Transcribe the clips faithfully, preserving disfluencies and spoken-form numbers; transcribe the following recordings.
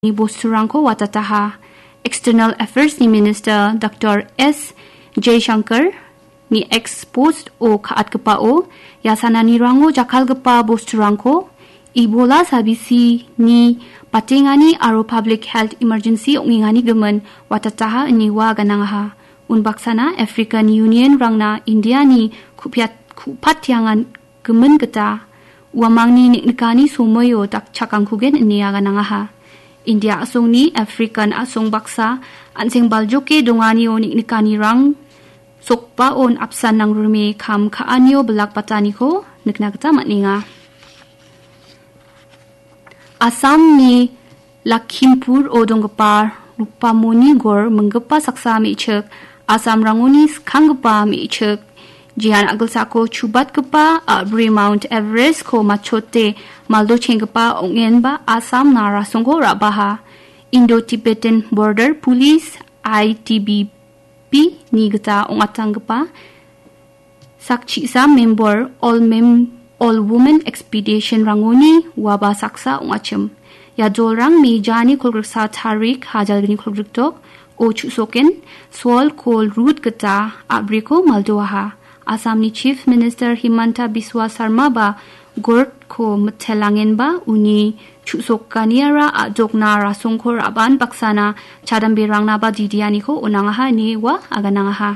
ni bosturangko watataha. External Affairs ni Minister Doctor S Jaishankar ni X post o ka·atgipao, ia sananirango jakkalgipa bosturangko Ebola sabisi ni batengani aro public health emergency ong·engani gimin watataha ine ua ganangaha. Unbaksana African Union rangna India ni kupiat-, kupatiangan gimin gita uamangni neng·nikani somoio dakchakangkugen ine aganangaha. India a·songni African a·song baksa an·seng baljoke donganio neng·nikanirang sokbaon apsan nangrime kam ka·anio bilak bataniko nikna gita man·enga. Assamni Lakhimpur-o donggipa Rupamoni Gor minggipa saksa me·chik, Assamrangoni skanggipa me·chik, jean a·gilsako chubatgipa a·bri Mount Everest-ko matchote maldochenggipa ong·enba Assam-na rasongko ra·baha. Indo-Tibetan Border Police, I T B P, ni gita ong·atanggipa sakchisa member All Mem-, All Women Expedition-rangoni uaba saksa ong·achim. Ia dolrang mejani kolgriksa tarik, hajalgni kolgrikdok o chu·soken Sol Kol Route gita a·briko maldoaha. Assamni Chief Minister Himanta Biswa Sarma ba Gordko mitelangenba uni chu·sokaniara a·dokna rasongko ra·ban baksana chadamberangna ba didianiko on·angaha ine ua aganangaha.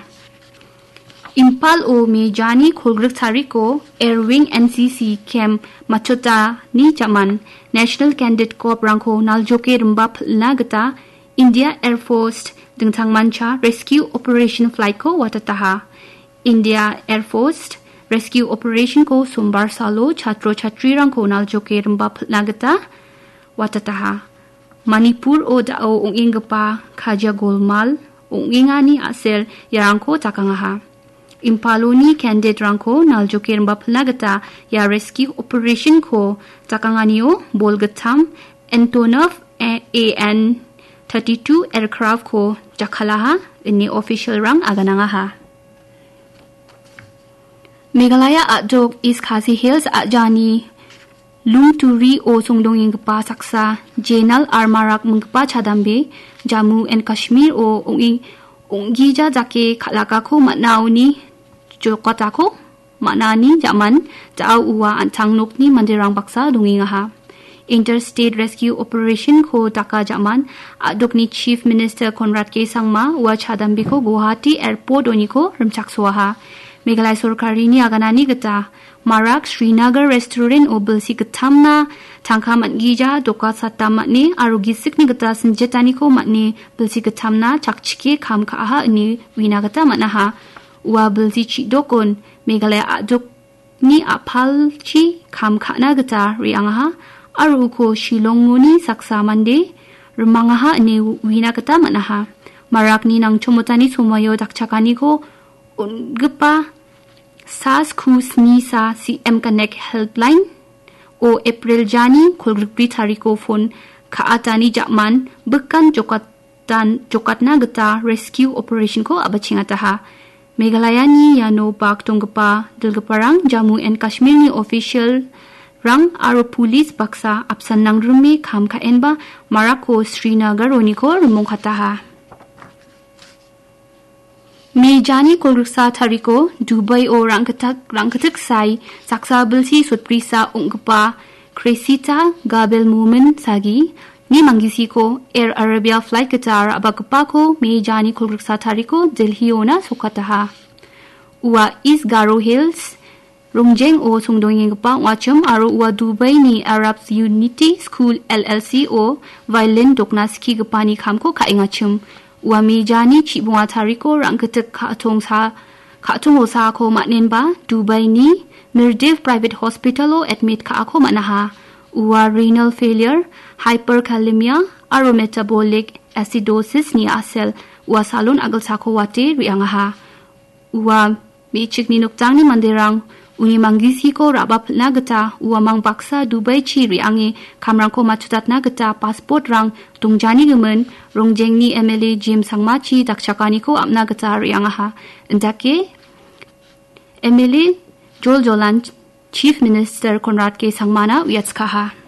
Imphal-o mejani kolgrik tariko Air Wing N C C camp matchotani jaman National Candidate Corps-rangko naljoke rimba pil·na gita India Air Force dingtangmancha Rescue Operation Flight-ko watataha. India Air Force Rescue Operation-ko sombar salo chatro chatrirangko naljoke rimba pil·na gita watataha. Manipur-o da·o ong·enggipa kajia golmal ong·engani a·sel iarangko dakangaha. Imphal-oni candidate-rangko naljoke rimba pil·na gita ia rescue operation-ko dakanganio bolgittam Antonov A N thirty-two aircraft-ko jakkalaha ine official-rang aganangaha. Meghalaya a·dok East Khasi Hills a·jani Lungturi-o songdongenggipa saksa Jenal Armarak minggipa chadambe Jammu and Kashmir-o ong·e-, ong·gija dake kal·akako man·aoni jokatako man·ani jaman da·o ua an·tang nokni manderang baksa dongengaha. Interstate Rescue Operation-ko daka jaman a·dokni Chief Minister Conrad K Sangma ua chadambeko Guwahati Airport-oniko rimchaksoaha. Meghalaya sorkarini aganani gita Marak Srinagar Restaurant-o bilsi gittamna tangka man·gija doka satam man·e aro gisikni gita sinjetaniko man·e bilsi gittamna chakchike kam ka·aha ine uina gita man·aha. Ua bilsi chidokon Meghalaya a·dokni a·palchi kam ka·na gita re·angaha aro uko Shillongoni saksa mande rimangaha ine uina gita man·aha. Marakni nangchomotani somoio dakchakaniko on·gipa sa sku sni sa C M Connect Helpline-o April jani kolgrikbri tariko phone ka·atani jaman bikan jokatan-, jokatna gita rescue operation-ko a·bachengataha. Meghalayani iano bak donggipa dilgiparang Jammu and Kashmir-ni official-rang aro police baksa apsan nangrime kam ka·enba Marakko Srinagar-oniko rimongkataha. Mejani kolgriksa tariko Dubai-o rangkitak-, rangkitik sai saksa bilsi sotbrisa ong·gipa Cressida Gabel Momin Sagi ni manggisiko Air Arabia flight gita ra·bakgipako mejani kolgriksa tariko Delhi-ona sokataha. Ua East Garo Hills Rongjeng-o songdongenggipa ong·achim aro ua Dubai-ni Arab Unity School L L C-o violin dokna skigipani kamko ka·engachim. Ua mejani chibonga tariko rangkitik ka·tongsa-, ka·tongo saako man·enba Dubai-ni Mirdiv Private Hospital-o admit ka·ako man·aha. Ua renal failure, hyperkalemia aro metabolic acidosis-ni a·sel ua salon a·gilsako wate re·angaha. Ua me·chikni nokjangni manderang uni manggisiko ra·bapilna gita uamang baksa Dubai-chi re·ange kamrangko matchotatna gita passport-rang dongjani gimin Rongjengni M L A Jim Sangmachi dakchakaniko apna gita re·angaha. Indake M L A Joljolan Chief Minister Conrad K Sangmana uiatskaha.